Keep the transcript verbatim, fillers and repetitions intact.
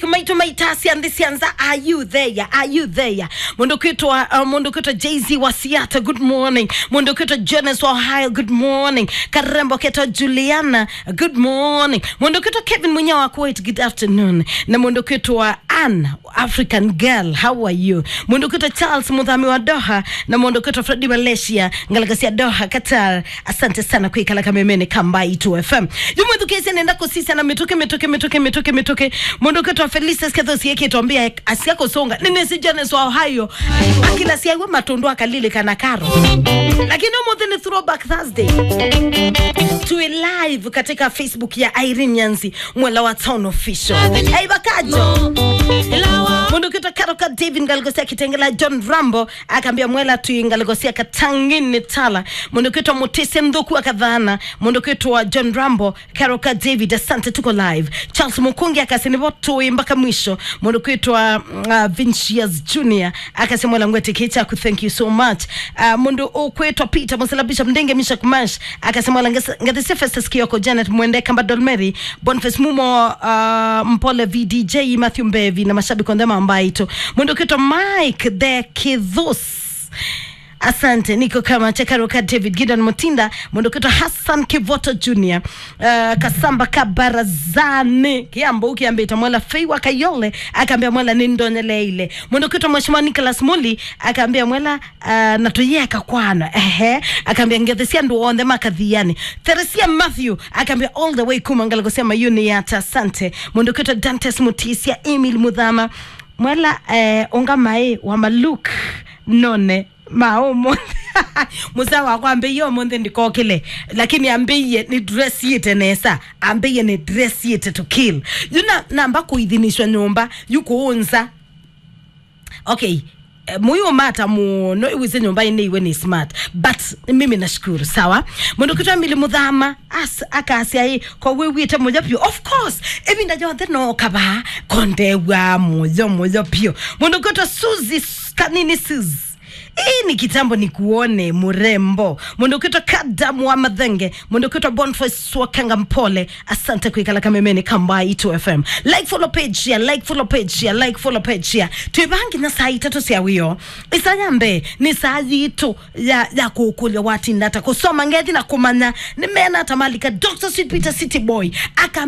Maitũ maitasya nthĩ sya nza, are you there? Are you there? Mũndũ kwĩtwa, uh, mũndũ kwĩtwa Jay-Z wa Siata, good morning. Mũndũ kwĩtwa Jonas wa Ohio, good morning. Karembo ketwa Juliana, good morning. Mũndũ kwĩtwa Kevin Munya wa Kuwait, good afternoon. Na mũndũ kwĩtwa Ann, African girl, how are you? Mũndũ kwĩtwa Charles Muthami wa Doha, na mũndũ kwĩtwa Freddy Malaysia, ngalĩko sya Doha, Qatar. Asante sana kwĩkala kamemene ka Mbaitũ F M. Yu mwĩthukĩĩsye nenda kũsisya na mĩtũkĩ, mĩtũkĩ, mĩtũkĩ, mĩtũkĩ, mĩtũkĩ. Mũndũ kwĩtwa Felicitas Kethosi ekĩtwa mbĩa asya kũsũnga. Nĩnĩsĩ Jones wa Ohio. Akila syaiwe matũndũ akalilĩkana karo. Lakini ũmũnthĩ nĩ Throwback Thursday. Tuĩ live katika Facebook ya Irene Nyanzi, Mwela wa Town Official. Hey, Bakajo. Mũndũ kwĩtwa Karoka David ngalĩko sya Kitengela John Rambo. Akambĩa Mwela twĩ ngalĩko sya Katangini Tala. Mũndũ kwĩtwa Mũtĩsya Nthũku akathana. Mũndũ kwĩtwa John Rambo, Karoka David, asante, tuko live. Charles Mukungi akasĩ nĩvo tũĩ mpaka mwisho. Mũndũ kwĩtwa, uh, Vincius Junior akasĩ Mwela ngwetĩkĩe kyaku, thank you so much. Uh, mũndũ ũkwĩtwa Peter Musela Bishop Ndenge Misha Kumash akasĩ Mwela nges- ngathĩsya Festus Kioko, Janet Mwende, Kamba Dolmeri, Boniface Mumo, uh, Mpole V D J, Matthew Mbevi na mashabiki onthe ma Mbaitũ. Mũndũ kwĩtwa Mike the Kithus. Asante, niko kama cha Karoka David Gideon Mutinda, mũndũ kwĩtwa Hassan Kivoto Junior, uh, Kasamba ka Barazani, Kiambo kiambĩte Mwela Fei wa Kayole, akambĩa Mwela nĩndonyeleile. Mũndũ kwĩtwa Mheshimiwa Nicholas Muli, akambĩa Mwela, uh, na tũyeka kwana, ehe, akambĩa ngethi sya andũ onthe makathiani. Theresia Matthew, akambĩa all the way kuma ngalĩko sya Mayuni Yata, asante. Mũndũ kwĩtwa Dantes Mutisia, Emil Muthama, Mwela, eh, ũngamaĩ wa Maluk, none ma ũmũnthĩ. Mũsaa wakwa ambĩie ũmũnthĩ ndikokĩle, lakini ambĩie nĩ dressiĩte nesa, ambĩie nĩ dressiĩte to kill. Yu na namba kũithinĩswa nyũmba, yu kũũnza. Okay, eh, mũyũ mata mũno, iwise nyũmba ĩnĩ iwe nĩ smart, but mimi nashukuru, sawa. Mũndũ kwĩtwa Emily Muthama, as, akasya ĩ, ko wĩw'ĩte mũyo vyũ. Of course, ĩvinda yonthe no kavaa, kondew'a mũyo, mũyo vyũ. Mũndũ kwĩtwa Suzy, s- Kanini Sis. Hii ni kitambo ni kuone mrembo. Mũndũ kwĩtwa Kadam wa Mathenge. Mũndũ kwĩtwa Boniface Wakanga Mpole. Asante kwĩkala kamemene ka Mbaitũ F M. Like, follow page, share, like, follow page, share, like, follow page, share. Twĩ vaa nginya saa itatũ sya wĩoo. Ĩsaa ya mbee nĩ saa yitũ ya, ya kũkũlya watinda ata kũsoma ngethi na kũmanya nĩmeana ata malika. Doctor Sweet Peter City Boy aka